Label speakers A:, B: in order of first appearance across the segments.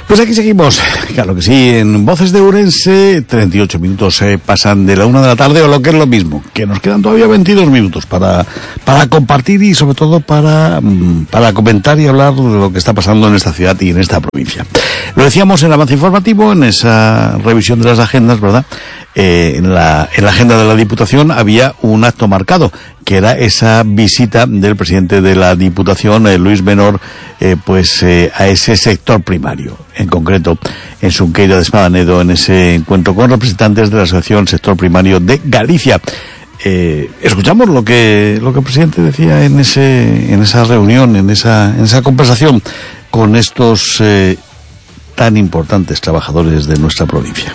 A: Pues aquí seguimos, claro que sí, en Voces de Ourense. 38 minutos pasan de la 1 de la tarde, o lo que es lo mismo, que nos quedan todavía 22 minutos para compartir y sobre todo para comentar y hablar de lo que está pasando en esta ciudad y en esta provincia. Lo decíamos en el avance informativo, en esa revisión de las agendas, ¿verdad? En la agenda de la Diputación había un acto marcado, que era esa visita del presidente de la Diputación, Luis Menor, a ese sector primario, en concreto en Xunqueira de Espadanedo, en ese encuentro con representantes de la Asociación Sector Primario de Galicia. Escuchamos lo que el presidente decía en esa reunión, en esa conversación con estos tan importantes trabajadores de nuestra provincia.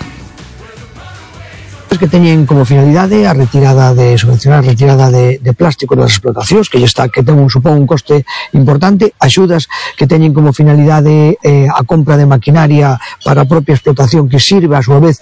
B: Que teñen como finalidade a retirada de subvencionar a retirada de plástico das explotacións, que supón un coste importante, axudas que teñen como finalidade a compra de maquinaria para a propia explotación, que sirve a súa vez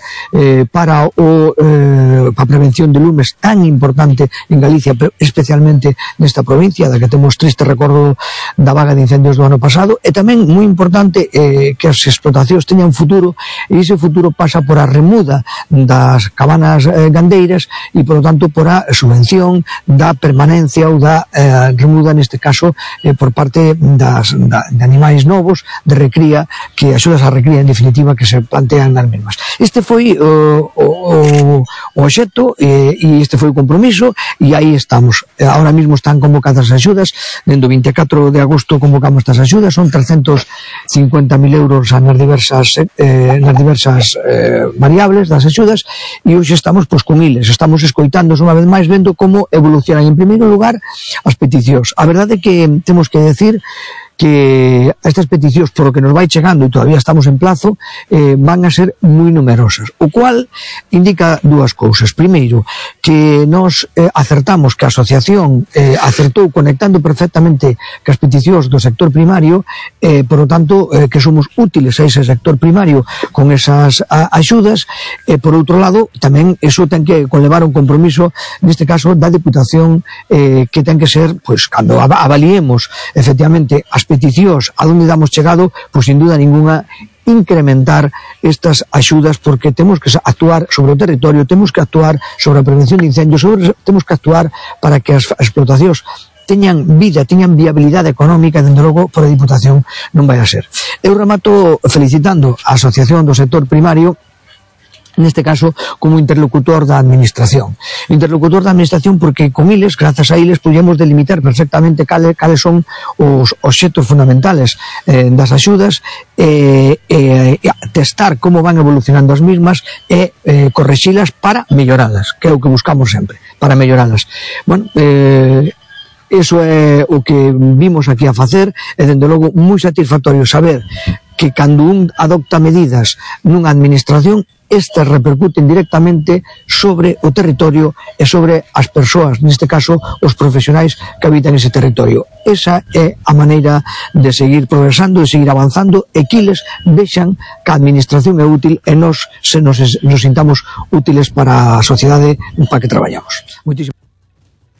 B: para a prevención de lumes tan importante en Galicia, pero especialmente nesta provincia, da que temos triste recordo da vaga de incendios do ano pasado, e tamén moi importante que as explotacións teñan futuro, e ese futuro pasa por a remuda das cabanas gandeiras e, por lo tanto, por a subvención da permanencia ou da remuda, neste caso, por parte de animais novos de recría, que axudas a recría, en definitiva, que se plantean nas mesmas. Este foi o obxecto e este foi o compromiso, e aí estamos. Ahora mismo están convocadas as axudas, dende o 24 de agosto convocamos estas axudas, son 350.000 euros nas diversas variables das axudas, e hoxe estamos con iles, estamos escoitando unha vez máis, vendo como evolucionan en primeiro lugar as peticións. A verdade é que temos que decir que estas peticións, por lo que nos vai chegando, e todavía estamos en plazo, van a ser moi numerosas, o cual indica dúas cousas. Primeiro, que nos acertamos, que a asociación acertou conectando perfectamente cas peticións do sector primario, por lo tanto, que somos útiles a ese sector primario con esas axudas, e por outro lado, tamén eso ten que conlevar un compromiso, neste caso, da Diputación, que ten que ser, pois, cando avaliemos efectivamente as peticións a donde damos chegado, pois sin duda ninguna incrementar estas axudas, porque temos que actuar sobre o territorio, temos que actuar sobre a prevención de incendios, temos que actuar para que as explotacións teñan vida, teñan viabilidade económica, e dende logo por a Diputación non vai a ser. Eu remato felicitando a Asociación do Sector Primario, neste caso como interlocutor da administración. Interlocutor da administración porque con iles, grazas a iles, podemos delimitar perfectamente cales son os obxectos fundamentales das axudas, testar como van evolucionando as mismas e correxilas para melloralas, que é o que buscamos sempre, para melloralas. Bueno, iso é o que vimos aquí a facer, e dende logo moi satisfactorio saber que cando un adopta medidas nunha administración, estas repercuten directamente sobre o territorio e sobre as persoas, neste caso os profesionais que habitan ese territorio. Esa é a maneira de seguir progresando, de seguir avanzando, e que eles vexan que a administración é útil e nos sintamos útiles para a sociedade para que traballamos. Moitísimas